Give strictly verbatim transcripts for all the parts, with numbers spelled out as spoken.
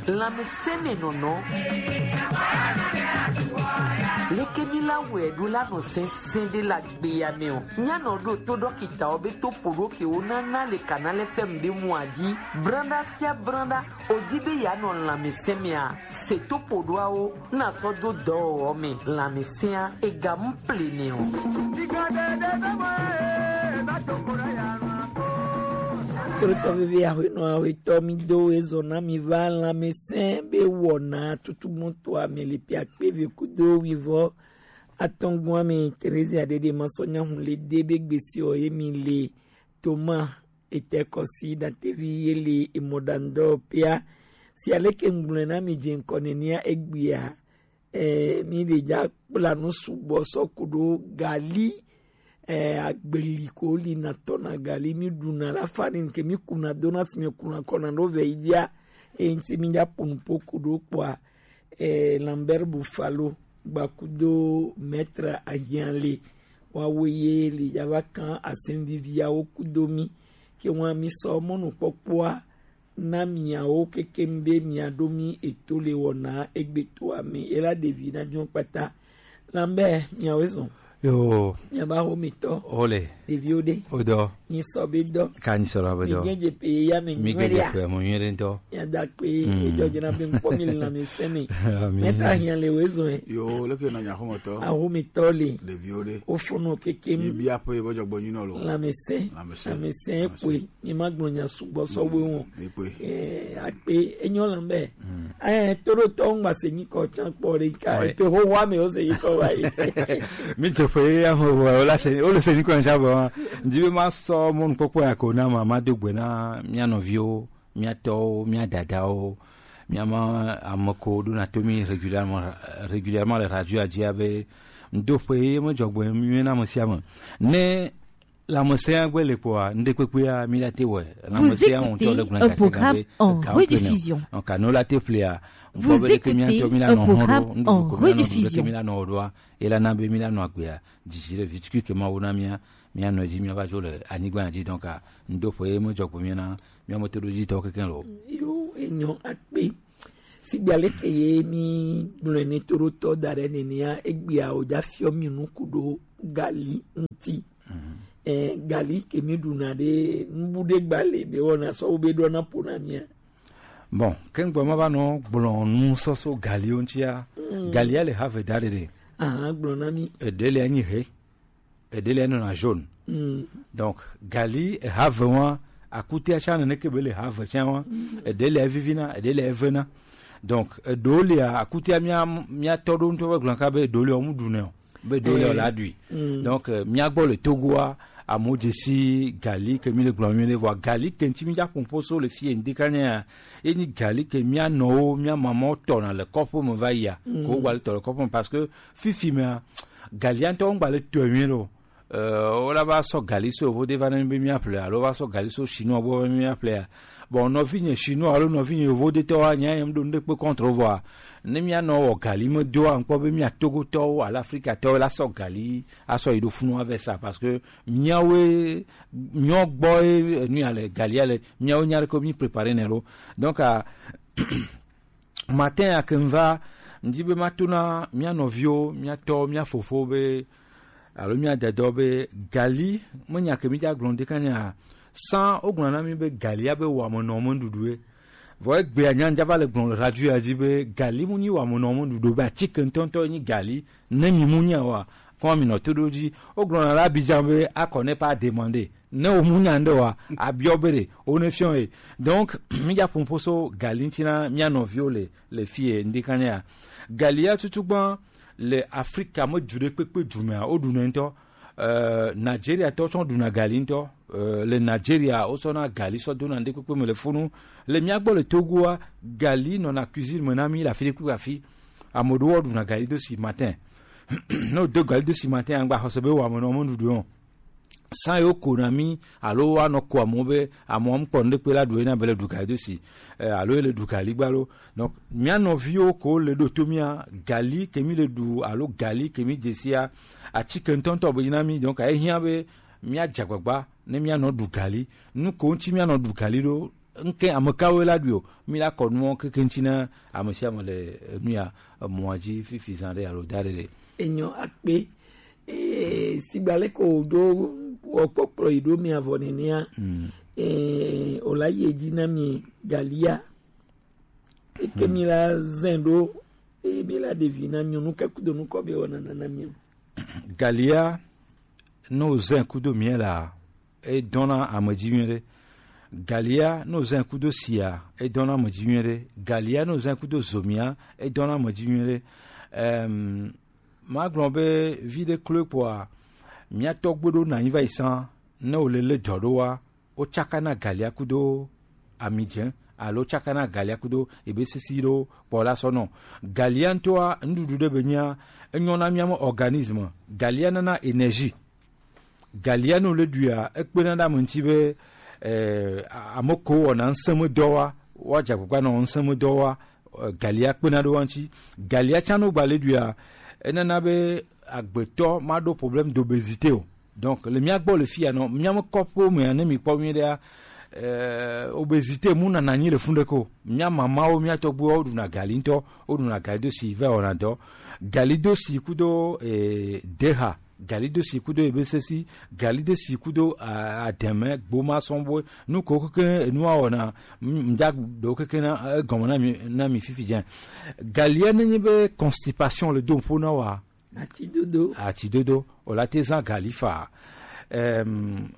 Lanmɛsɛnmɛ nɔnɔ. Leke mi la wɛ ɖo la nɔ sɛnsɛn ɖe la gbe ya mɛ o. Nya nɔ ɖo to ɖɔkita o be to poɖo ke o nana le kana lɛ fɛm ɖe mu aji. Branda sia branda o di be ya nɔ lanmɛsɛnmɛ a. Se to poɖoawo na sɔ do dɔwɔwɔ mɛ lanmɛsɛn a ega mu ple nɛ o. Krotɔ veve aƒenɔ aƒetɔ mi do ezɔ na mi va lanmɛsɛn be wɔna tutugbɔtɔa me le piakpe ve kudo wivɔ atɔngua me Terezia ɖeɖe ma sɔ nyahu le de be gbesi o ye mi le Toma etɛ kɔsi datevi ye le emɔɖaŋdɔ pia si aleke ŋgblɔe na mi dze ŋkɔ nenia egbea. Eh, mi ɖe dza kpla nu sugbɔ sɔ ku ɖo gali, eh, agbeli ko li na tɔ na gali mi ɖu na la fa ni ke mi ku na do na si mi ku na kɔ na ɖo vɛ yi dia. E ŋti mi dza po nu po ku ɖo kpɔa, eh, Lambert Buffalo gba kudo maître Ahianle wa wo ye li dza va kan asen viviawo kudo mi ke wa mi sɔ mɔnu kpɔkpɔa na miawo keke be miaɖo mi eto le wɔna egbe toa me ela ɖevi na diɔ kpata. Lambe miawo zɔn. Yo, miaba ho mi tɔ. Ole. Ɖeviwo ɖe. Odɔ. Ni sɔ be dɔ. Ka ni sɔ be dɔ. Mi gɛn je pe ya me mi gɛn je pe mo nyere ntɔ. Ya da pe e jɔ jena be nkpɔ mi le lanmɛsɛn me. Meta hiã le wo zɔn. Yo, le ke na nya ho mo tɔ. Aho mi tɔ le. Ɖeviwo ɖe. O fono keke mi. Bi apo e bo jɔ gbɔ nyinɔ lo. Lanmɛsɛn. Lanmɛsɛn. Lanmɛsɛn kwe. Mi ma gblɔ nya sugbɔ sɔ we wɔn. Ekpe. Eh, akpe enyo la be. Eh, toɖotɔ ŋgba se nyikɔ tsan kpɔ ɖe ka. Ekpe hoho ame wo se nyikɔ wa yi. Mi te ƒe ya ho wo la se, wo le se nyikɔ ntsa bɔ. Ndi be ma sɔ mɔnu kpɔkpɔ ya ko na ma, ma do gbe na mia nɔviwo, mia tɔwo, mia dadawo, mia ma ame ko ɖo na to mi régulièrement, régulièrement le radio a dzi abe ŋdo ƒe ye me dzɔgbe mi na ame sia ame. Ne Lanmɛsɛn agbe le kpɔa, ŋɖekpekpea, mi la te wɔe. Vous écoutez un programme en rediffusion. Donc, anu la te ƒlea, vous écoutez un programme en rediffusion. Mi la nɔ ɖoa, ela na be mi la nɔ agbea, dzidzi le vitukui ke Mawu na mia, mia nɔ dzi, mia va dzo le anyigba dzi. Donc, ŋdo ƒe ye me dzɔ kpo mia na, mia me to ɖo dzi tɔ keke lo. Yo, enyo akpe. Sigbe aleke ye mi gblɔe ne toɖotɔ da ɖe nenea, egbea wòdza fiɔ mi nuku ɖo gali ŋuti. Eh, gali ke mi ɖuna ɖe nubu ɖe gba le be wɔna sɔ wo be ɖɔna ƒo na mia. Bon, ke ŋgbɔ ma va nɔ gblɔ nu sɔsɔ galiwo ŋutia. Galia le have da ɖe ɖe. Aha, gblɔ na mi. Eɖe le anyi he. Eɖe le nɔna jaune. Donc, gali eha ve wa, akutia tsa nene ke be le ha ve tsa wa, eɖe le vivina, eɖe le vena. Donc, eɖewo lia, akutia mia, mia tɔ ɖo ŋutɔ be gblɔ ka be eɖewo lia, wo mu ɖu nɛ o. Be eɖewo lia, wo la ɖui. Donc, eh, mia gbɔ le Togoa, amewo dze si gali ke mi le gblɔ mi le vɔa, gali ke ŋuti mi dza ƒo ƒo so le fi ye ŋdi ka nya ya, ye nyi gali ke mia nɔwo, mia mamawo tɔna le kɔƒe me va yia, ko wo gba le tɔ le kɔƒe me, parce que fifi mea, galia ŋutɔ ŋgba le tɔe nyuie ɖe o. Eh, wo la va sɔ gali so yovo de va ne mi be mia ƒle, alo va sɔ gali so chinois gbɔ be mia ƒlea. Bon, nɔvinye chinois alo nɔvinye yovo de tɔ wa nya yem ɖo ŋɖe kpe contre vɔa. Ne mia nɔ wɔ gali me doa, ŋkpɔ be mia Togotɔwo alo Afrikatɔwo la sɔ gali asɔ yi ɖo funu ave sa, parce que miawoe, miawo gbɔ ye, eh, nu ya le, galia le, miawo nya ɖe ko mi préparer nɛ ɖo. Donc, ah, matin ya ke ŋva, ŋdi be mato na mia nɔviwo, mia tɔwo, mia fofowo be, alo mia dadawo be, gali, me nya ke mi dza gblɔ ɖeka nya, sans wogblɔ na mi be gali ya be wɔ ame nɔ me ɖuɖu ye. Vɔ egbea nya ŋdza va le gblɔ le radio ya dzi be, gali mu nyi wɔ ame nɔ me ɖuɖu be atike ŋutɔŋutɔ nyi gali, ne mi mu nya wa, kɔn mi nɔ to ɖo dzi. Wogblɔ na le Abidjan be, akɔ ne pas demander. Ne wo mu nya ŋɖe wa, abiɔ be ɖe, wo ne fiɔ ye. Donc, mi dza ƒo ƒo so gali ŋuti na mia nɔviwo le, le fi ye, ŋdi kan ya. Gali ya tutu gbã le Afrika me du ɖe kpekpe du mea, wo ɖu nɛ ŋutɔ. Euh, Nigeria tɔ tsɔ ɖuna gali ŋutɔ. Euh, le Nigeria, wo sɔ na gali sɔ dona ŋɖe kpekpe me le funu. Le mia gbɔ le Togoa, gali nɔna cuisine me na mi le afi ɖe kpekpe afi. Ame ɖewo ɖuna gali do si matin. Ne wo do gali do si matin, angba xɔse be wɔ ame nɔ me ɖuɖu o. San yewo ko na mi, alo woanɔ ko amewo be, amewo ŋkpɔ ŋɖekpe la ɖu yena be le ɖu gali do si, eh, alo ele ɖu gali gba lo. Donc, mia nɔviwo ko le ɖo to mia, gali ke mi le ɖu, alo gali ke mi dzesia, atike ŋutɔŋutɔ be na mi. Donc, ehiã be mia dze agbagba ne mia nɔ ɖu gali. Nu ko ŋuti mia nɔ ɖu gali ɖo, ŋke ame kawoe la ɖui o. Mi la kɔ nuwo keke ŋuti na ame sia ame le enu ya emɔa dzi fifi zã ɖe alo da ɖe ɖe. Enyo akpe. Ee, sigba leke wòɖo wɔ kpɔkplɔ yi ɖo mia vɔ nenea. Mm. Ee, wòla yi edzi na mi galia. Eke mi la zẽ ɖo, eye mi la ɖevi na nyɔnu ke kudo nukɔ be wɔna nana mi o. Galia, ne wòzẽ kudo mia la, edɔna ame dzi nyuie ɖe. Galia, ne wòzẽ kudo sia, edɔna ame dzi nyuie ɖe. Galia, ne wòzẽ kudo zomia, edɔna ame dzi nyuie ɖe. Em, magblɔ be vi ɖe kloe kpɔa, mia tɔgbe ɖo na anyi va yi sã, ne wòle le dɔ ɖo wa, wotsakana galia kudo ami dze alo wotsakana galia kudo ebe sesi ɖo kpɔ la sɔ nɔ. Galia ŋutɔa, nuɖuɖu ɖe be nyia, enyɔ na mia me organisme. Galia nana énergie. Galia ne wòle ɖuia, ekpena ɖe ame ŋuti be, eh, a-, ame ko wɔna ŋusẽmedɔ wa, woadze agbagba nɔ ŋusẽmedɔ wa, eh, galia kpena ɖe wo ŋuti. Galia tsã ne wogba le ɖuia, enana be agbetɔ maɖo problème d'obésité o. Donc, le mia gbɔ le fia nɔ, mia me kɔƒewo mea, ne mi kpɔ nyuie ɖea, eh, obésité mu nana anyi le fun ɖeke o. Mia mamawo, mia tɔgbuiwo, woɖuna gali ŋutɔ, woɖuna gali do si va wɔna dɔ. Gali do si kudo, eh, deha, gali do si kudo ebe sesi, gali do si kudo, a-, ademe, gboma sɔnbo, nu ko keke enua wɔna, m-, mda do keke na, eh, gɔme na mi, na mi fifi dze. Galia ne nyi be constipation le do ƒo na wa. Atidodo. Atidodo. O la te zã gali fa. Em,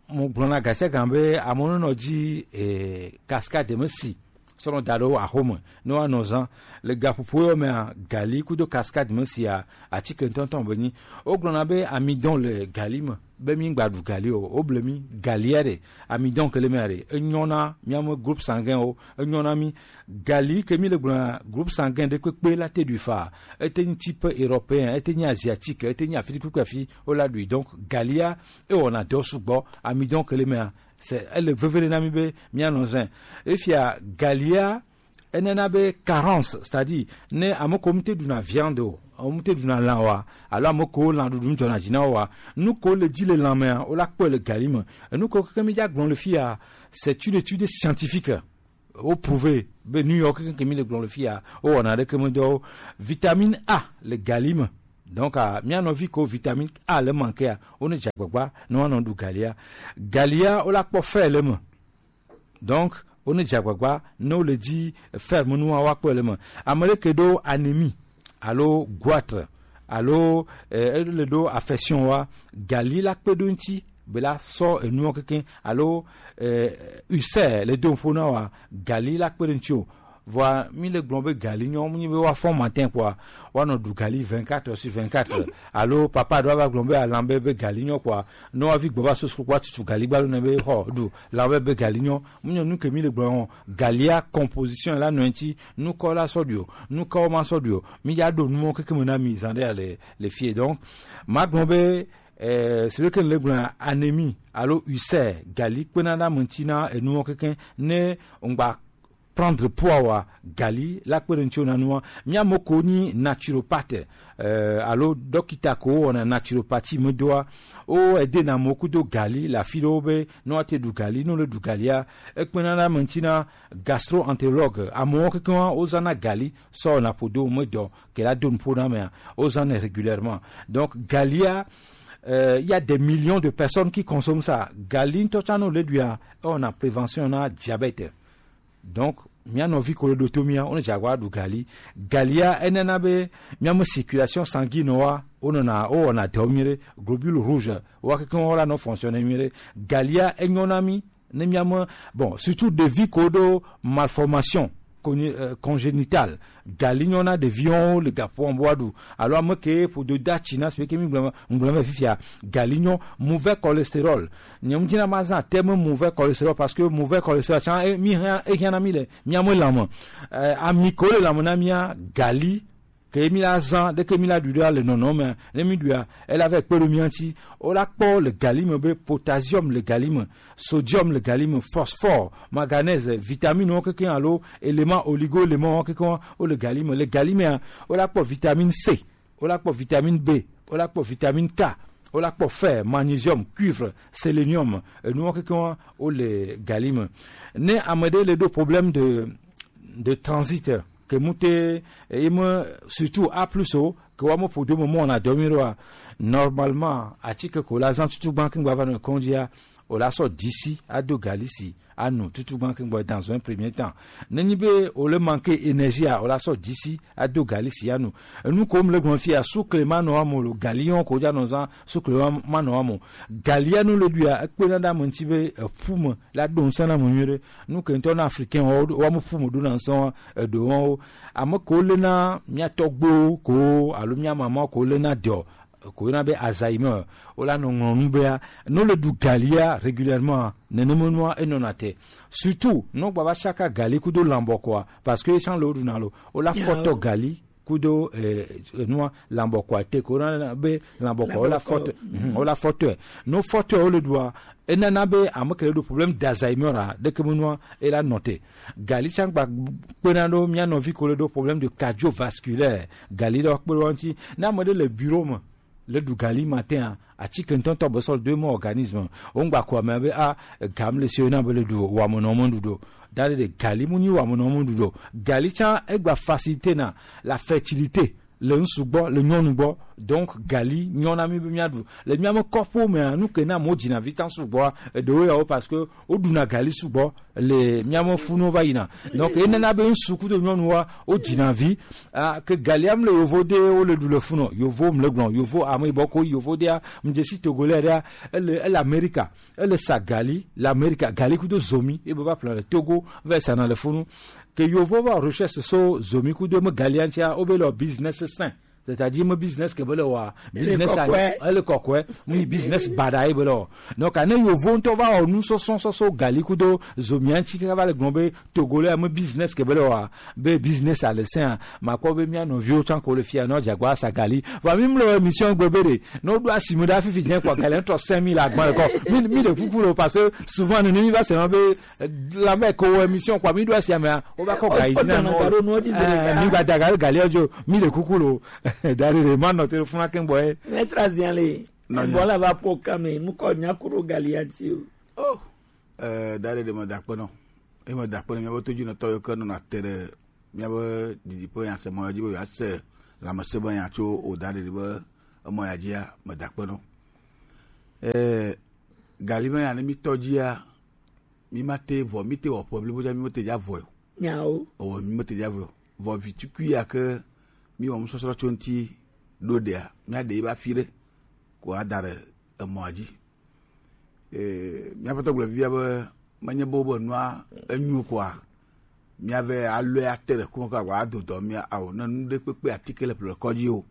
mo gblɔna gasia gan be amewo nɔ dzi, eh, cascade me si. Sɔnɔ da ɖo axome. Ne woanɔ zã. Le gaƒoƒo yɔ mea, gali kudo cascade me sia, atike ŋutɔŋutɔ be nyi. Wogblɔna be amidɔn le gali me. Be mi gba ɖu gali o. Woble mi galia ɖe. Amidɔn ke le mea ɖe. Enyɔ na mia me groupe sanguin o. Enyɔ na mi. Gali ke mi le gblɔna, groupe sanguin ɖe kpekpe la te ɖui fa. Ete nyi type européen, ete nyi asiatique, ete nyi afi kpekpe afi, wo la ɖui. Donc, galia, ewɔna dɔ sugbɔ, amidɔn ke le mea, c'est, ele veve ɖe na mi be, mia nɔ zẽ. Efia, galia, enana be carence, c'est-à-dire, ne ame ko mu te ɖuna viande o, ame mu te ɖuna lã wa, alo ame ko lã ɖuɖu mu dzɔna dzi na wo wa, nu ko le dzi le lã mea, wo la kpɔe le gali me. Enu ko keke mi dza gblɔ le fia, c'est une étude scientifique. Wo prouver be nu yawo kekeŋ ke mi le gblɔ le fia, wo wɔna ɖeke me dɔ o. Vitamine A le gali me. Donc, ah, mia nɔvi ko vitamine A le manquea, wo ne dze agbagba ne woanɔ ɖu galia. Galia, wo la kpɔ fer le me. Donc, wo ne dze agbagba ne wo le dzi fer me nua, woakpɔe le me. Ame ɖe ke ɖo anémie alo goitre, alo, eh, ele ɖo affection wa, gali la kpe ɖo ŋuti, be la sɔ enuɔ kekeŋ, alo, eh, ulcère le do ƒo na wa, gali la kpe ɖe ŋuti o. Vɔa, mi le gblɔ be gali nyɔ, mu nyi be wa fɔ matin kpɔa, wa nɔ ɖu gali vingt-quatre sur vingt-quatre. Alo papa ɖo va gblɔ be alan be, be gali nyɔ kpɔa, ne wa vi gbɔ va so sukukpɔa tutu gali gba ɖo ne be xɔ ɖu, lan be, be gali nyɔ, mu nyɔ nu ke mi le gblɔ o. Galia composition la nɔ ŋuti, nukɔ la sɔ ɖui o, nukɔ ma sɔ ɖui o. Mi ya ɖo numɔ keke me na mi zan ɖe le, le fie. Donc, ma gblɔ be, eh, c'est vrai que le gblɔ anémie alo ulcère, gali kpena ɖe ame ŋuti na enumɔ keke ne ŋgba prendre poids wa, gali la kpe ɖe ŋuti na nua. Mia mo ko ni naturopathe, eh, alo dɔkita ko wɔna naturopathie me doa, o ede na mo kudo gali la fi ɖewo be ne woate ɖu gali, ne wole ɖu galia, ekpena ɖe ame ŋuti na gastro-entérologue, amewo kekeŋ wozãna gali sɔ wɔna ƒodo me dɔ ke la do nuƒo na amea, wozãnɛ régulièrement. Donc, galia, euh, il y a des millions de personnes qui consomment ça. Gali ŋutɔ tsã ne wole ɖuia, ewɔna prévention na diabète. Donc, mia nɔvi ko le ɖo to mia, wone dze agba ɖu gali. Galia, enana be mia me circulation sanguine wa, wonɔna, wowɔna dɔ nyuie ɖe, globule rouge, wa kekeŋ wa la nɔ fonctionner nyuie ɖe. Galia, enyɔ na mi, ne mia me, bon, surtout ɖevi ko ɖo malformation coni-, euh, congénitale. Gali nyɔ na ɖeviwo le gaƒoa me wa ɖu. Alo ame ke ƒodo da tsi na, c'est que mi gblɔ me, gblɔ me fifia. Gali nyɔ, mauvais cholestérol. Nye ŋuti na ma zã terme mauvais cholestérol parce que mauvais cholestérol tsã, e, mi hã, e hã na mi le mia me lãme. Eh, ami ko le lãme na mia, gali, ke mi la zã, ɖeke mi la ɖui ɖe le nɔnɔ me, ne mi ɖuia, ela va kpe ɖo mia ŋuti. Wola kpɔ le gali me be potassium le gali me, sodium le gali me, phosphore, manganèse, vitamine wo kekeŋ alo élément oligo-élément wo kekeŋ wo le gali me. Le gali mea, wola kpɔ vitamine C, wola kpɔ vitamine B, wola kpɔ vitamine K, Wola kpɔ fer, magnésium, cuivre, sélénium, enuwo kekeŋ wo le gali me. Ne ame ɖe le ɖo problème de de transit ke mu te, eye me surtout A plus o ke wa me ƒo do me mɔ na dɔ mi ɖoa, normalement atike ko la zan tutu gban ke gba va nɔ kɔn dzia, o la sɔ disi ado gali si anu tutu gban ke gba dans un premier temps. Ne nyi be o le manque énergie a, o la sɔ disi ado gali si anu. Enu ko mle gblɔ fia, sukle ma nɔ amo lo, gali yɔn ko dza nɔ zan, sukle ma, ma nɔ amo. Gali anu le ɖuia, ekpena ɖe ame ŋuti be eƒu me la ɖo ŋusẽ na ame nyuie ɖe. Nu ke ŋutɔ na Africain wo, wo ame ƒu me ɖo na ŋusẽ wa, eɖo wɔn wo. Ame ko le na mia tɔgbewo ko alo mia mama ko le na dɔ, ko yɔna be Alzheimer, wo la nɔ ŋlɔ nu bea, ne wo le ɖu galia régulièrement, nenema nua enɔna te. Surtout, ne wo gba va saka gali kudo lambɔkɔa, parce que etsã le wo ɖuna lo, wo la fɔtɔ gali kudo, eh, nua lambɔkɔa te, ko yɔna be lambɔkɔa, wo la fɔtɔ, mhm, wo la fɔtɔ. Ne wo fɔtɔ wo le ɖua, enana be ame ke le ɖo problème d'Alzheimer a, ɖeke me nua e la nɔ te. Gali tsã gba kpena ɖo mia nɔvi ko le ɖo problème de cardiovasculaire, gali ɖe kpe ɖo ŋuti. Ne ame ɖe le bureau me le ɖu gali matin a, atike ŋutɔŋutɔ be sɔ do eme organisme. Wo ŋgba ko ame be a, gam le si na be le ɖu wamenɔ me ɖuɖo. Da ɖe gali mu nyi wamenɔ me ɖuɖo. Gali tsã egba facilité na la fertilité le ŋsu gbɔ, le nyɔnu gbɔ. Donc gali nyɔ na mi be mia ɖu. Le mia me kɔƒewo mea, nu ke na mo dzina vi tan sugbɔa, eɖewo yawo parce que wo ɖuna gali sugbɔ le mia me funu va yina. Donc enana be ŋsu kudo nyɔnu wa wo dzina vi. Ah, ke galia mle yovo de wo le ɖu le funu, yovo mle gblɔ, yovo ame yibɔ ko yovo de a, mdze si Togolais de a, ele, ele Amerika, ele sa gali le Amerika, gali kudo zomi, ebe va ƒle le Togo, va sa na le funu. Ke yovo va recherche so zomi kudo me galia ŋutia, wo be le business sain. C'est-à-dire me business ke be le wa, business a, ele kɔkɔe, mu business bada ye be le wa. Donc ne yovo ŋutɔ va wɔ nu sɔsɔ sɔsɔ gali kudo zomia ŋuti kaka va le gblɔ be Togolais me business ke be le wa, be business a le sain, ma kpɔ be mia nɔviwo tsã ko le fia, no dzagba sa gali. Va mi mlo émission gbe be de, no do asi me da fifi dzen kwa gali ŋutɔ cinq mille agba kɔ. Mi, mi de kuku lo, parce que souvent ne mi va se ma be, eh, la me ko émission kwa mi do asi ame a, o ba kɔ ga yi na no. Mi ba daga gali ojo, mi de kuku lo. Dari de ma no te funa ken boy. Maître Aziale. Bola va po kame, mu ko nya kuro gali anti o. Oh. Eh, da ɖe ɖe me da akpe nɔ. Eye me da akpe nɔ míaƒe todzinɔtɔ yiwo ke nɔna te ɖe míaƒe didiƒe nyasemɔ ya dzi be yewoase lãmesẽ be nya tso wò da ɖe ɖe be emɔ ya dzia, me da akpe nɔ. Eh, gali be nya ne mí tɔ dzia, mí ma te vɔ, mí te wɔ ƒe blibo dza, mí me te dza vɔ o. Nyawo. Ewɔ mí me te dza vɔ o. Vɔ vi tukui ya ke mí wɔ nusɔsrɔ̃ tso ŋuti ɖo ɖea, mía ɖe yi be afi ɖe ko ada ɖe emɔa dzi. Ee, míaƒe tɔgblɔ fifia be menye be wobe nua enyo koa, míave alɔe ate ɖe ku me koa, wòado dɔ mía ao. Ne nu ɖe kpekpe atike le ƒle kɔdzi o,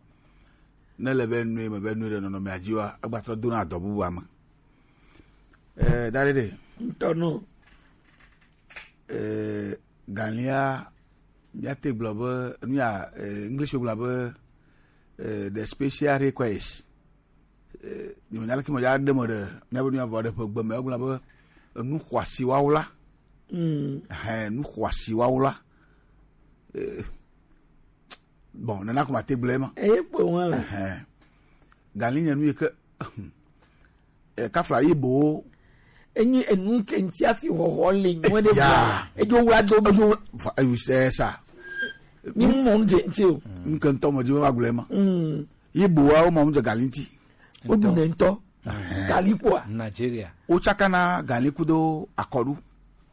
ne le be nue me be nue ɖe nɔnɔmea dzi oa, egba trɔ dona dɔ bubua me. Ee, da ɖe ɖe. Ŋutɔ no. Ee, galia, míate gblɔ be, nu ya, ee, English gblɔ be, ee, the special request. Eh, nyɔnya leke me ya ɖe me ɖe míabe nu ya vɔ ɖe ƒe gbe me, egblɔ be enu xɔasi wawo la. Mm. Hɛn, nu xɔasi wawo la. Eh, bon, nena ko ma te gblɔe ma. Eye kpɔ ŋu la. Hɛn. Gali nye nu yi ke, eh, kafla yi bo. Enyi enu ke ŋuti afi xɔxɔ le nyuie ɖe. Ya. Edzo wla do. Edzo wla, fa, ewu, eh, sa. Mi mɔ ŋdze ŋti o. Nke ŋutɔ me dzi be magblɔe ma. Mm. Yi boa wo ma mu dze gali ŋti. Wo ɖu nɛ ŋutɔ. Gali kpɔa? Nigeria. Wo tsakana gali kudo akɔɖu.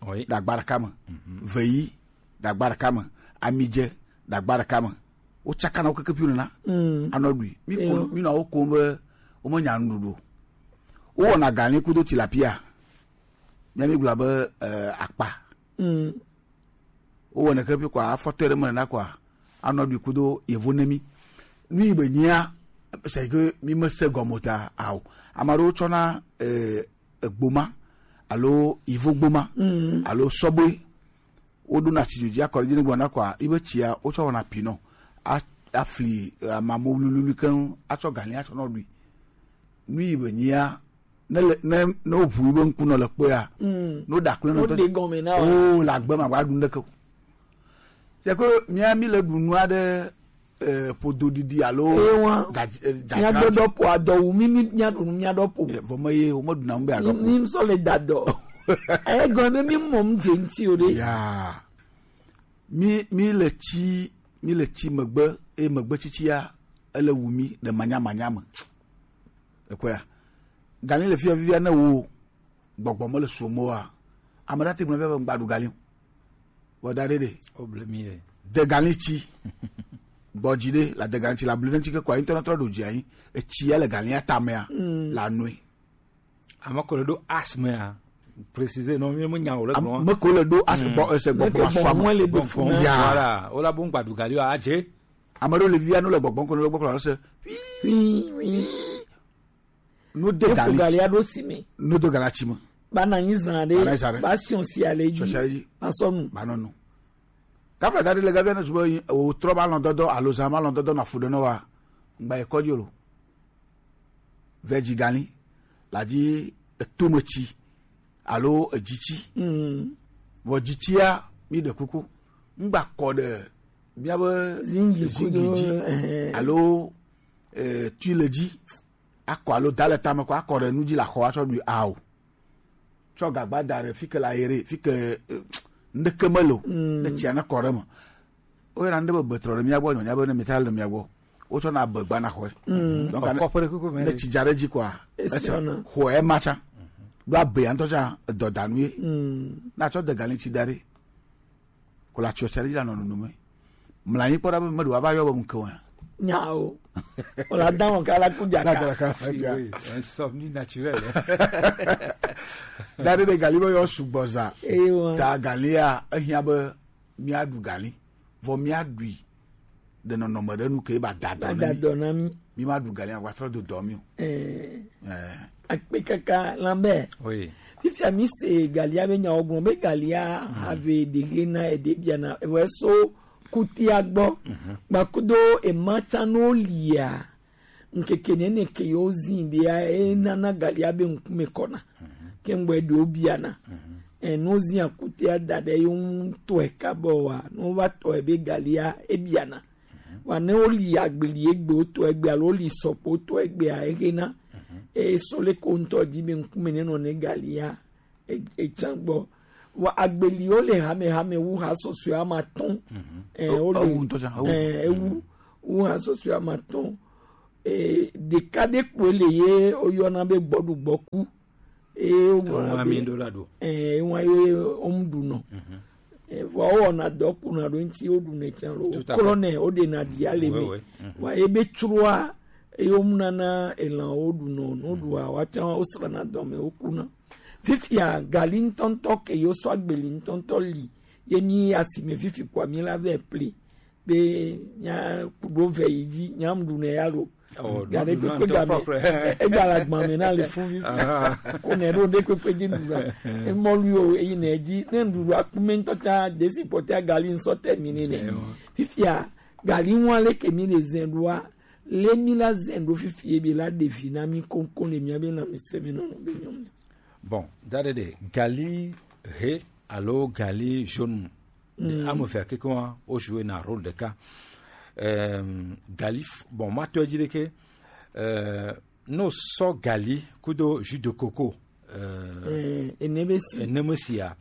Oui. Ɖagba ɖeka me. Mhm. Veyi, ɖagba ɖeka me. Amidze, ɖagba ɖeka me. Wo tsakana wo keke piu nena. Mm. Anɔ ɖui. Mi ko, mi nɔ wo kom be wo me nya nuɖuɖu. Wo wɔna gali kudo tilapia. Mía mi gblɔ be, eh, akpa. Mm. Wowɔnɛ ke ƒi kɔa, afɔtɔe ɖe me nena kɔa, anɔ ɖui kudo yevo ne mí. Nu yi be nyia, c'est que mí me se gɔme o ta, ao. Ame aɖewo tsɔna, eh, egboma, alo yivo gboma, mm, alo sɔbɔe. Woɖona tsi dzo dzi akɔ ɖe edzi ne gblɔna kɔa, yi be tsia, wotsɔ wɔna pinɔ. A-, afli, eh, amamo wluwlui keŋ, atsɔ gali atsɔ nɔ ɖui. Nu yi be nyia, ne le, ne, ne woʋu yi be ŋkunɔ le kpɔea, mm, ne woɖe akple nɔ tɔ, woɖe gɔme na wo. Oh, le agbe ma, wa ɖu ŋɖeke o. C'est que mía, mí le ɖu nu aɖe, eh, ƒodo ɖiɖi alo Ewa. Ga- eh, Mía dzadzra do ŋuti. Dɔ po adɔ wu mi, mi mía ɖu nu mía ɖɔ po. Eh, vɔ me ye wo me ɖuna nu be aɖɔ po. Ni sɔ le da dɔ. Aye gɔn be mi mɔ mu dze ŋuti o ɖe. Ya. Mi mi le tsi mi le tsi megbe eye megbe tsitsia ele wu mi le manyamanya me. Ekpɔa, gali le fia vivia ne wo gbɔgbɔ mele suo me oa, ame ɖe ate gblɔ be ŋgba ɖu gali o. Vɔ da ɖe ɖe. Woble mi ɖe. De gali tsi. Gbɔ dzi ɖe la de gali tsi la blu ne tsi ke kɔ ayi ŋutɔ nɔtrɔ ɖo dzi anyi. Etsi ya le galia tamea la nui. Ame ko le ɖo asme a préciser non mi me nya o le gblɔ. Me ko le ɖo as gbɔ ese gbɔgbɔ asua me. Gbɔgbɔ ya. Voilà, o la bo ŋgba ɖu gali o adze. Ame ɖewo le via no le gbɔgbɔ ko no le gbɔgbɔ se. No de gali. Eko gali aɖo si me. No de gali atsi me. Ba na anyi zã ɖe. Ba na anyi zã ɖe. Ba siɔ si ale dzi. Siɔ si ale dzi. Ba sɔ nu. Ba nɔ nu. Kafla da ɖe le gavia ne sube o trɔ ba lɔn dɔdɔ alo zã ba lɔn dɔdɔ na fu ɖe nɔ wa. Ŋgba yi kɔdzi o lo. Vɛ dzi gali. La dzi eto me tsi. Alo edzi tsi. Mm. Vɔ dzi tsia mi ɖe kuku. Ŋgba kɔ ɖe miabe zingi dzi. Alo eh, tui le dzi. Akɔ alo da le tame kɔ akɔ ɖe nu dzi le axɔ atsɔ ɖui ao. Tsɔ gagba da ɖe fi ke la yi ɖe fi ke eh, ŋɖeke mele o. Ne tsia ne kɔ ɖe me. Woyɔna ŋɖe be betrɔ ɖe mía gbɔ nyɔnya be ne mita le mía gbɔ. Wotsɔna be gba na xɔe. Donc ne tsi dza ɖe dzi kɔa etsã xɔe ma tsã. Ɖo abea ŋutɔ tsã edɔdanu ye. Na tsɔ de gali tsi da ɖe. Ko la tsi ɔtsa ɖe dzi la nɔ nunu me. Mla anyi kpɔ ɖa be meɖe wòava yɔ be ŋke o ya. Nya o. O la da wɔn kala ku dzaka. Insomnie naturelle. Da ɖe ɖe gali be yɔ sugbɔ za. Ewa. Ta galia ehiã be míaɖu gali. Vɔ míaɖui ɖe nɔnɔme ɖe nu ke ba da dɔ na mí. Mímaɖu gali agba trɔ do dɔ mí o. Eh. Eh. Akpe kaka Lambert. Oui. Fifia mi se galia be nyawo gblɔ be galia have ɖehe na eɖe biana ewe so kutia gbɔ. Gbakudo ema tsa no lia. Ŋkeke nene ke yewo zi ɖea, enana galia be ŋkume kɔna. Ke ŋgbɔe ɖewo biana. E, ne wozi akutea da ɖe yewo ŋu tɔe kabɔ wa, ne wova tɔe be galia ebiana. Wa ne woli agbeli egbe wotɔ egbe alo woli sɔkpo wotɔ egbea, ehena. Eye sɔ le ko ŋutɔ di be ŋkume nenɔ ne galia e- etsã gbɔ. Vɔ agbeliwo le hamehame wu ha sɔsɔe ame atɔ̃. Eh, wo le- eh, ewu wu ha sɔsɔe ame atɔ̃. Eh, ɖeka ɖe kpoe le ye woyɔna be gbɔɖugbɔku. Eh, woŋlɔna be eh, ewa ye womu ɖunɔ. Eh, vɔ wowɔna dɔ kuna ɖo ŋuti woɖunɛ tsã lo. Woklɔnɛ woɖena ɖia le me. Vɔ ye be tsroa eye womunana elã woɖunɔ, ne woɖua woatsã wosrana dɔme wokuna. Fifia gali ŋutɔŋutɔ ke yewo sɔ agbeli ŋutɔŋutɔ li ye mi asime fifi kpɔa mi la vɛ ple be nya kuɖo vɛ yi dzi nya mu ɖu ne ya lo. Gaɖe kpekpe game egba le agba me na le fun fifi ko ne ɖo ɖe kpekpe dzi ɖu la emɔlu yo eyi ne dzi ne ɖuɖu akume ŋutɔ ta desi kpɔtɛ gali ŋsɔ tɛ mi ne ne fifia gali ŋua le ke mi le zɛ ɖoa le mi la zɛ ɖo fifi ebe la ɖevi na mi koŋkoŋ le mi abe na mi se mi nɔnɔ be nyɔnu. Bon, da ɖe ɖe gali he alo gali jaune. Mm. Ame evea kekeŋ wa wo joue na rôle ɖeka. Euh, gali f- bon ma tɔe dzi ɖeke euh, no sɔ gali kudo jus de coco euh, eh, enebe si eneme sia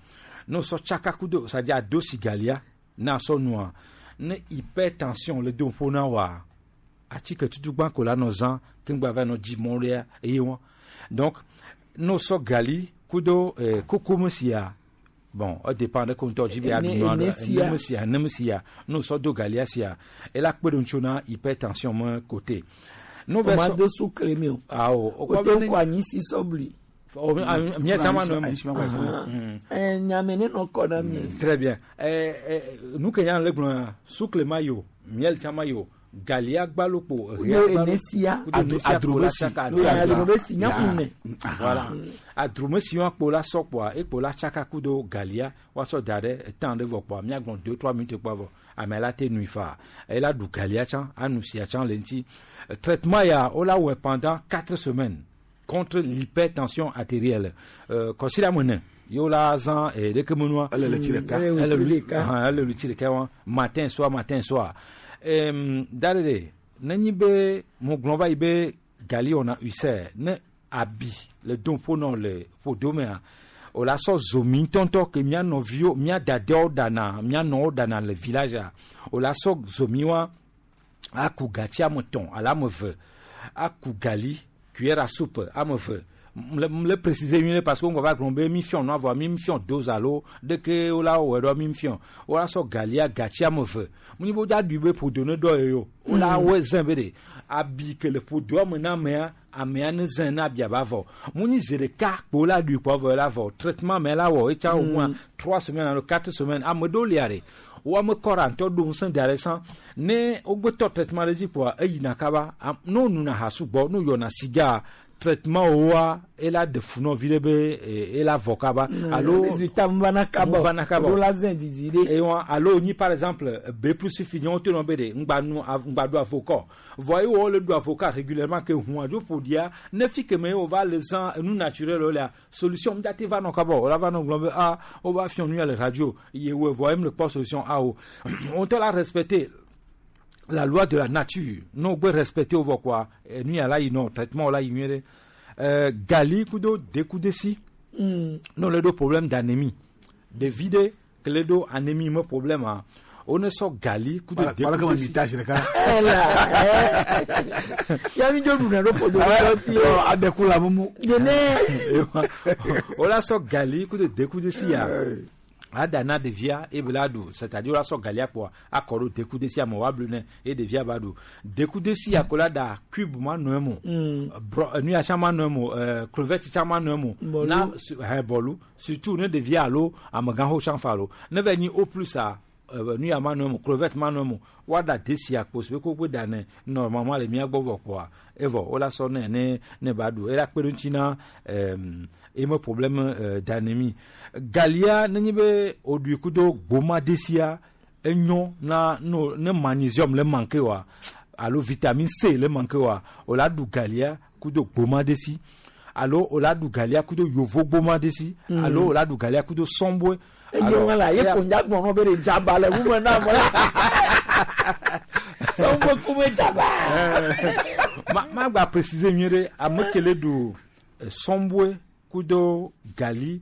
no sɔ tsaka kudo sa dza do si galia na sɔ nua ne hypertension le do ƒo na wa atike tutu gbã ko la nɔ zã kengba va nɔ dzi mɔ ɖea eye wɔn donc no sɔ gali kudo eh, koko me sia bon e dépend ɖe ko ŋutɔ dzi be aɖu nua ɖe ne me sia ne me sia no sɔ do galia sia e la kpe ɖo ŋutsu na hypertension me kote no ve sɔ do sukle mi o awo o kɔ be ne ko anyi si sɔbli o mia tama no mo eh nyame ne no kɔ na mi très bien eh eh nu ke nya le gblɔ sukle ma yo miel tama yo galia gbalo kpo ria gbalo enesia kudo enesia kpo la tsaka adromesi nya kume voilà adromesi wa kpo la sɔkpoa e kpo la tsaka kudo galia wa sɔ da ɖe etan ɖe vɔ kpoa mia gbɔn deux trois minutes kpoa vɔ ame la te nui fa e la ɖu galia tsã anu sia tsã le ŋti traitement ya o la wɛ pendant quatre semaines contre l'hypertension artérielle euh, kɔsiɖa me ne yewo la zã eh, ɖeke menua ele le tsi ɖeka ele lui ele lui tsi ɖeka wa matin soir matin soir Em, Darere, nenyi be mo gblɔ va yi be gali wɔna ulcère, ne abi le do ƒo nɔ le ƒodo mea, o la sɔ zomi ŋutɔŋutɔ ke mía nɔviwo, mía dadewo ɖana, mía nɔwo ɖana le village a, o la sɔ zomi wa, aku gatsi ame etɔ̃ alo ame eve, aku gali, cuillère à soupe ame eve. Mle, mle préciser nyuie ɖe parce que ŋgɔ va gblɔ be mi fiɔ nua vɔ, mi fiɔ dose alo ɖeke wo la wɔ ɖo mi fiɔ. Wo la sɔ galia gatsi ame eve. Mu nyi bo dza ɖui be ƒodo ne ɖɔ yo. Wo la wɔ zɛn be ɖe abi ke le ƒodo ame na amea, amea ne zɛn na abia ba vɔ. Mu nyi ze ɖeka kpo la ɖui kpo vɔ la vɔ. Traitement me la wɔ, etsa wo mua trois semaines alo quatre semaines. Ame ɖo lia ɖe. Wo ame kɔra ŋutɔ ɖo ŋusẽ da ɖe san. Ne wo gbe tɔ traitement ɖe dzi kpoa, eyi na kaba. Am-, no nu na ha sugbɔ, no yɔ na siga, traitement woa, e la ɖe fu nɔ vi ɖe be, e, e la vɔ kaba. Mm, alo résultat mu va na kaba. Mu va na kaba. Ɖo la zɛn didi ɖe. E wa, alo nyi par exemple, be plus fi nyawo to nɔ be ɖe, ŋgba nu, av-, ŋgba ɖu avokɔ. Vɔ ye wo le ɖu avocat régulièrement ke hun adzo ƒo dia, ne fi ke me wo va le zan enu naturel wo lea, solution mu dza te va nɔ kaba o, la va nɔ gblɔ be, ah, wo va fiɔ nu ya le radio, ye wo vɔ em le kpɔ solution a o. On te la respecter la loi de la nature. Non, gbe respecter wo vɔ quoi. E, nu ya la yi nɔ, traitement la yi nyuie ɖe. Euh, gali kudo dekudesi. Mm. Non, le do problème d'anémie. Ɖevi ɖe kle ɖo anémie me problème a. Wo ne sɔ gali kudo dekudesi. Ela, eh. Ya mi jo ɖu na ɖo ƒodo ɖo ti. Adeku la mumu. Yene. Wo la sɔ gali kudo dekudesi ya. Eh. Ada na ɖevia, e be la ɖu, c'est-à-dire wo la sɔ galia kpoa, akɔ ɖo dekudesi ame wa blu ne, e ɖevia ba ɖu. Dekudesi ya ko la ɖa cube ma nɔ emo. Mm. Bro, eh, nu ya tsã ma nɔ emo, eh, crevette tsã ma nɔ emo. Bɔlu. Na, su-, eh, bɔlu. Surtout ne ɖevia alo amegãxo tsã fa lo. Ne va nyi au plus a, eh, nu ya ma nɔ emo, crevette ma nɔ emo. Wa ɖa desi akpo si be ko gbe ɖa ne, normalement le mia gbɔ vɔ kpoa, evɔ, wo la sɔ ne, ne, ne ba ɖu. E la kpe ɖo ŋuti na, em, e me problème, euh, d'anémie. Galia, ne nyi be o ɖui kudo gboma desia, enyo na, no, ne magnésium le manqué wa, alo vitamine C le manqué wa, o la ɖu galia kudo gboma desi, alo o la ɖu galia kudo yovo gboma desi, mm, alo o la ɖu galia kudo sɔnbue. Eye alo, ŋa la, ye eya ko nya gbɔn be ɖe dzaba le wu me na me. Sɔnbue ku me dzaba. Eh, ma, ma gba préciser nyuie ɖe, ame ke le ɖu, eh, sɔnbue kudo gali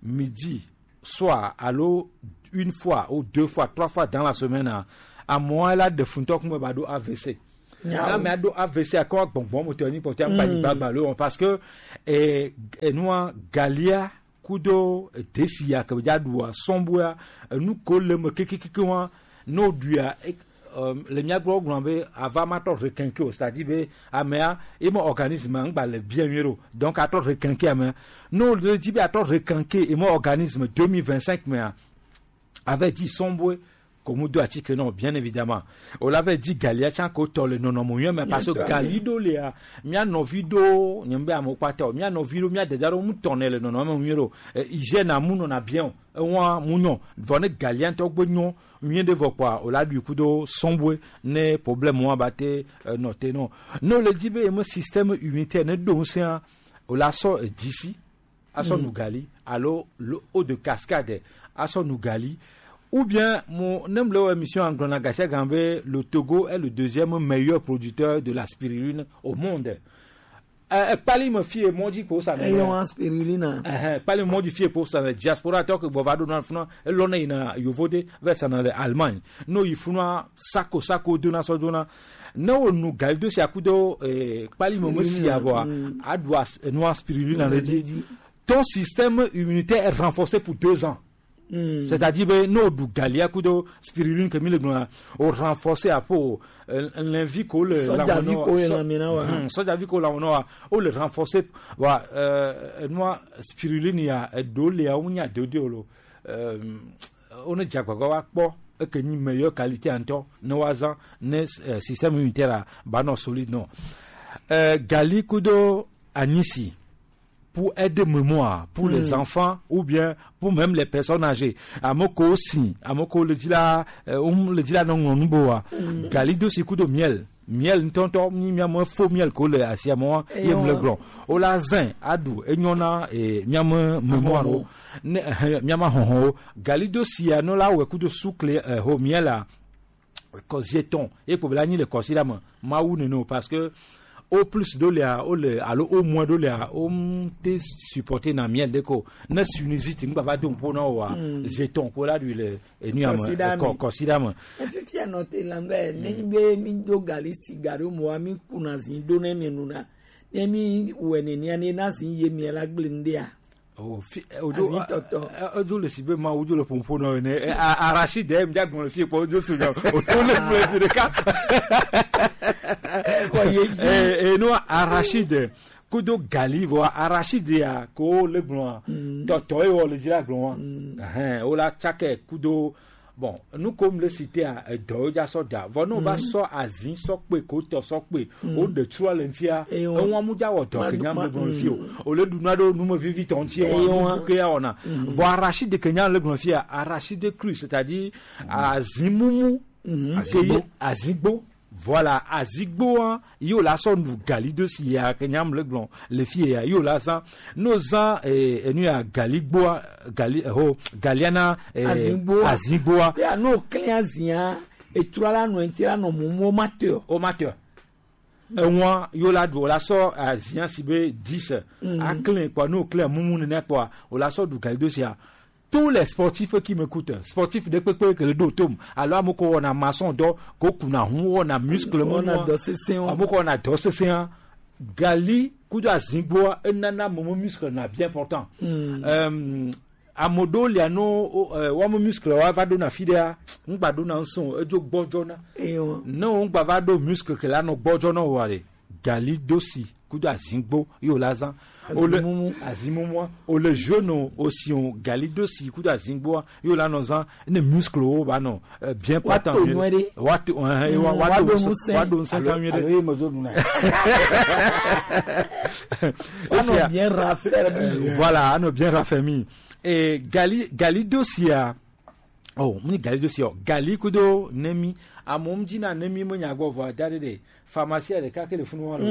midi, soit alo une fois ou deux fois, trois fois dans la semaine, a, amewo la ɖe fu ŋutɔ kume ba ɖo A V C. Nyawo. Ne amea ɖo A V C, akɔ gbɔngbɔn mo tɔ ni kpɔtɔ, mm, agba yi gbagba lo, parce que, eh, enua galia kudo desi ya ke dza ɖua sɔnbua, enu ko le me kekekeke wa, no ɖuia, e, euh, le mia gbɔ gblɔ be ava ma tɔ requinquer o, c'est-à-dire be amea, e me organisme ŋgba le bien nyuie ɖo. Donc atɔ requinquer amea. No le di be atɔ requinquer e me organisme deux mille vingt-cinq mea, avait dit sɔnbue, ko mu do atike nɔ, bien évidemment. O la ve di galia tsã ko tɔ le nɔnɔme nyuie me, parce que gali ɖo lea, mia nɔvi ɖo, nye be amewo kpata o, mia nɔvi ɖo, mia dada ɖo mu tɔ ne le nɔnɔme nyuie ɖo. Eh, hygiène a mu nɔna bien o. Ewa mu nyɔ, vɔ ne galia ŋutɔ gbe nyɔ nyuie ɖe vɔ kpoa, o la ɖui kudo sɔnbue ne problème wa ba te, eh, nɔ te nɔ. Ne o le di be eme système immunitaire ne ɖo ŋusẽa, o la sɔ, eh, disi, asɔ, mm, nu gali, alo le eau de cascade, asɔ nu gali, ou bien mo, ne mle wo émission anglo na gasia gan be le Togo est le deuxième meilleur producteur de la spiruline au monde. Eh, eh, kpali me fie mɔ dzi ko sa ne. Eyo wa spiruline. Eh, eh, kpali me mɔ dzi fie ko sa ne diaspora tɔ ke gbɔ va ɖo na funa, elɔ ne yina yovo de, ve sa na le Allemagne. No yi funa sako, sako dona sɔ dona. Ne wo nu gali do si akudo, eh, kpali mo mo si avoa, mm, adua, eh, nua spiruline le di. Ton système immunitaire est renforcé pour deux ans. Mm. C'est-à-dire, ben, no du gali akudo spiruline ke mi le gblɔ, o renforcer apo, eh, l'envie ko le sɔjavi ko le lamina wa. Hmm, sɔjavi ko lamina wa. O le renforcer, wa, eh, nua spiruline ya, eh, do le ya, o nya do de o lo. Euh, wo ne dze agbagba wa kpɔ, eke nyi meilleure qualité ŋutɔ, ne wa zan, ne, euh, système immunitaire a ba nɔ solide nɔ. Euh, gali kudo anyisi, pour aider mémoire, pour, hmm, les enfants, ou bien pour même les personnes âgées. Ame ko si, ame ko le dzi la, euh, um, le dzi la nɔ ŋlɔ nu bo wa. Hmm. Gali do si kudo miel. Miel ŋutɔŋutɔ, mi-, mia me fo miel ko le asia me wa, ye mle gblɔ. O la zin aɖu, enyo na, eh, mia me mémoire wo. Ne, eh, mia ma hɔhɔn wo. Gali do sia no la wɛ kudo sukle, eh, ho miel a. Kɔ zieton ye kpo bla nyi le kɔsi la me. Mawu nene o, parce que au plus do lia o le alo au moins do lia o m te supporter na miel de ko. Ne sinusite ngba va do po na wa zieton ko la lui le enu ya me. Kɔsi la me. Kɔ kɔsi la me. Efifi anɔ te lambe ne be mi do gali siga do mo mi kuna zin do ne mi nuna. Ne mi wene ni ane na zin ye mi la gble nde a. Oh, fi, eh, odo, azin tɔtɔ. Eh, eh, odo le si be ma odo le pompo no ne. Eh, a- arachide, eh, mja gbɔn le fie kpɔ odo su nya. Odo le gblɔ fi ɖeka. Kɔ ye dzi. Eh, eh, no, arachide. Kudo gali vɔ arachide ya ko le gblɔ. Tɔtɔ ye wɔ le dzi la gblɔ. Ɛhɛn, o la tsake kudo. Bon, nu kom le sitea, edɔwo dza sɔ da. Vɔ ne wova sɔ azin sɔ kpe ko tɔ sɔ kpe, wo ɖe trua le ŋutia, ewa mu dza wɔ dɔ kenya le gblɔ fi o. O le ɖu na ɖo nume vivi tɔ ŋuti, ewa nu ke ya wɔna. Vɔ arachide kenya le gblɔ fia, arachide cru, c'est-à-dire azin mumu, azin gbo. Voilà, azigboa, yo la sɔ nu gali do si ya ke nyam le gblɔ le fie ya, yo la zan, no zan, eh, enu ya gali gboa, gali, eh, ho, galiana, eh, azigboa. Azigboa. Ya no klin azia, etrua la no enti la no mumu o mateur. O mateur. Ewa, yo la do la sɔ azia si be dix. A klin kpɔ, no klin mumu nene kpɔ, o la sɔ du gali do si ya. Tous les sportifs qui m'écoutent, sportif de kpekpe ke le do tom, alors ame ko wɔna maçon dɔ, ko kuna hu wɔna muscle mu, wɔna dɔ sesẽ wa. Ame ko wɔna dɔ sesẽ a, gali kudo azingbo enana mo muscle na bien important. Euh, amodo lia no, euh, wa mo muscle wa va do na fidea, ngba do na nson, ejo gbɔjɔ na. Ne o ngba va do muscle ke la no gbɔjɔ na wa le. Gali dosi kudo azingbo yo la zan. Ole azimumua, ole jeune aussi on gali dosi kudo azingboa yo la no zan. Ne muscle o ba no, euh, bien patent. Wa to, eh, wa to, wa do sen kan mieux. Alo ye mo do na. Wa no bien raffermi. Voilà, ano bien raffermi. Et gali, gali dosi a. Oh, muni gali dosi o. Gali kudo nemi. Amo mji na nemi mo nyago vo adade de. Pharmacie ɖeka ke le funu wa lo.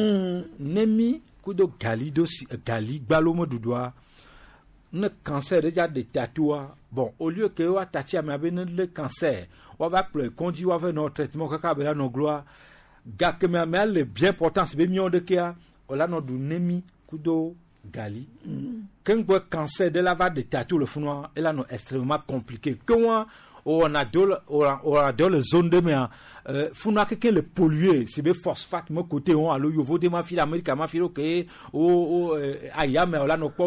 Nemi kudo gali dosi, gali gbalo mo dudua. Ne cancer ɖe ja de tatua. Bon, au lieu que wa tati ame abe ne le cancer, wa va kplɔe kɔdzi wa va nɔ traitement kaka be la nɔ gloa. Gake me ame le bien important be mi o de kea, o la nɔ du nemi kudo gali. Kengbe cancer ɖe la va de tatu le funua, e la nɔ extrêmement compliqué. Ke wa o na do le, o na do le zone de mea, euh, funua keke le pollué, si be phosphate me côté on, alo yovo de ma fi Amérique ma fi lo ke o, o, euh, ayame o la nɔ kpɔ